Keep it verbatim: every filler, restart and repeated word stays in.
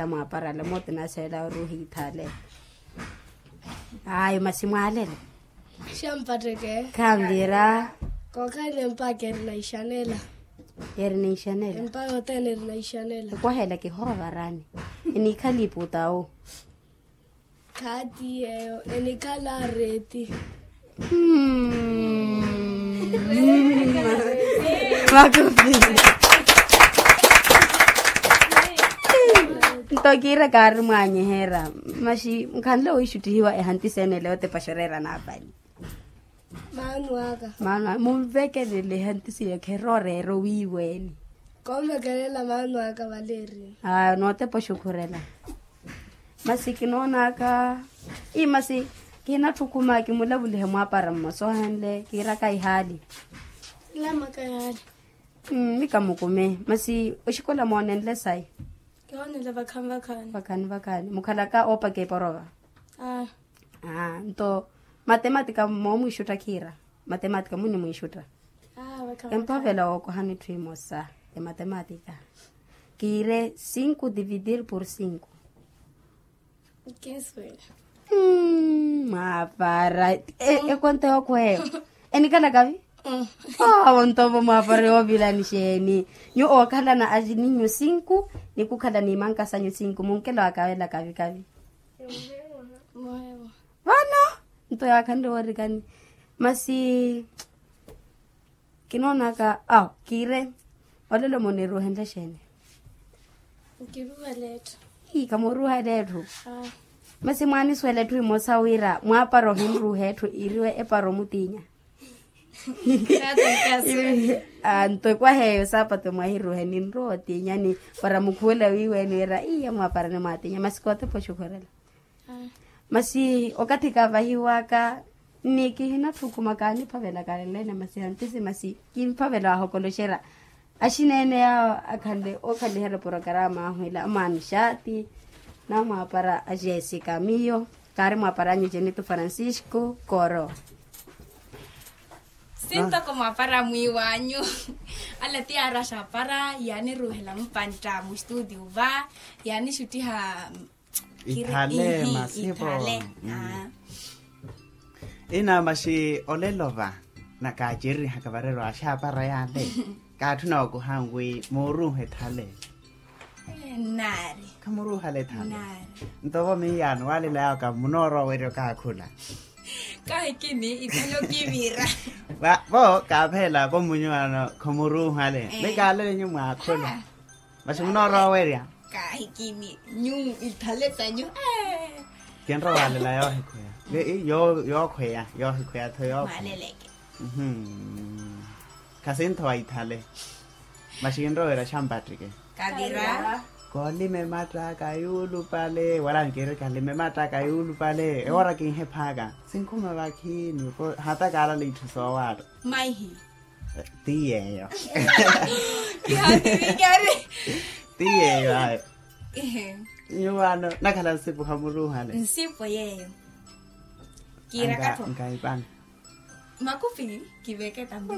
Mwaparale mooti naseela oruuha ithaale. Ayo masi mwaalele. Xampatteke. Khanvira. Kookhalani empaka erina ixanela. Erina ixanela. Empaka othene erina ixanela. Okwahela kihoovarani. Enikhalipu tawu. Khaati yeeyo enikhala areeti. Nto kiira kaari mwaanyeherya. Maxi nkhanle wiixuttihiwa ehantisi ene leyo tepaxa oreera naapali. Maanu aka. Maanu aka munvekelele ehantisi yeyo kherooreera owiiweeni. Konvekelela maanu aka valeeri. Aa nootepa oxukhurela. Masi kinoonaka ii masi kihinatthukuma kimulavulihe mwaapara mmosa ohenle kiiraka ihaali. Lamaka ihaali. Mmi kamukume masi oxikola moonenle sayi. Kihoonenle vakhaani vakhaani. Vakhaani vakhaani mukhalaka oopaka eporova. Aa. Aa nto matematika moomwiixutta khiira. Matematika munimwiixutta. Emphavela wookohani etthu emosa ya matematika. Kiire cinco dividir por cinco. Mwaapara ekonto yookhweyo enikhala kavi. Awo ntovo mwaapara yoovilani xeeni? Nyuwo ookhalana aninyu cinco nikukhala nimanka sanyu cinco munkela wakavela kavi kavi. Vano nto yaakhanle woorikani. Masi kinoonaka awo kiire olelo muniruuhenle xeeni? Nkiruuhela etthu. Ii kamuruuhela etthu. Masi mwaanisuwela etthu emosa wira mwaapara ohinruuha etthu iriwe epara omutiinya. Nto ekwaha eyo saapatu mwahiruuhe ninrowa otiinyani para mukhuwela wiiweeni wira iya mwaapara nimwaatiinya masi kootepa oxukhurela. Masi okathi kaavahiwaka ni kihinatthukuma kaaniphavela kalelene masi hantisi masi kimphavela waahokoloxerya. Axineene yaawo akhanle ookhaliherya porokarama ahu ila amwaani xaati namwaapara a jessica miyo kaari mwaapara anyu jenito francisco koro. Sintoko mwaapara mwiiwanyu. Ala ti yaari axaapara yaaniruuhela mupantta mustuuti uva yaanixuttiha. Ithale masipo. Ina maxi olelo va nakaacererihaka varerwa axaapara yale. Kaatthuna wakuhaani wi muuruuha ethale. Nnaari. Khamuruuhale ethale. Ntovo miyaano waalelayaka munoorowa werya okaakhula. Kahikini ithale okivira. Vo kaaphelaka omunyu ano khamuruuhale ni kaalele nyu mwaakhula. Masi munoorowa werya. Kahikini nyu ithale sanyu. Kinrowa walela yoohikhweya. Yookhweya yoohikhweya tho yookhweya. Khasintho wa ithale. Masi kinrowa werya xampattike. Kavira. Koolima emattaka yuulupale wala nkiiri kalima emattaka yuulupale ewoora kinhephaaka. Sinkhuma vakhini hata kaalala itthu soowaatta. Maihi. Ti yeeyo. Ti yeeyo ayo. Nyuwaano nakhala nsipu khamuruuhale. Nsipu yeeyo. Kiiraka tho. Nkaipani. Makupi kiveke tambi.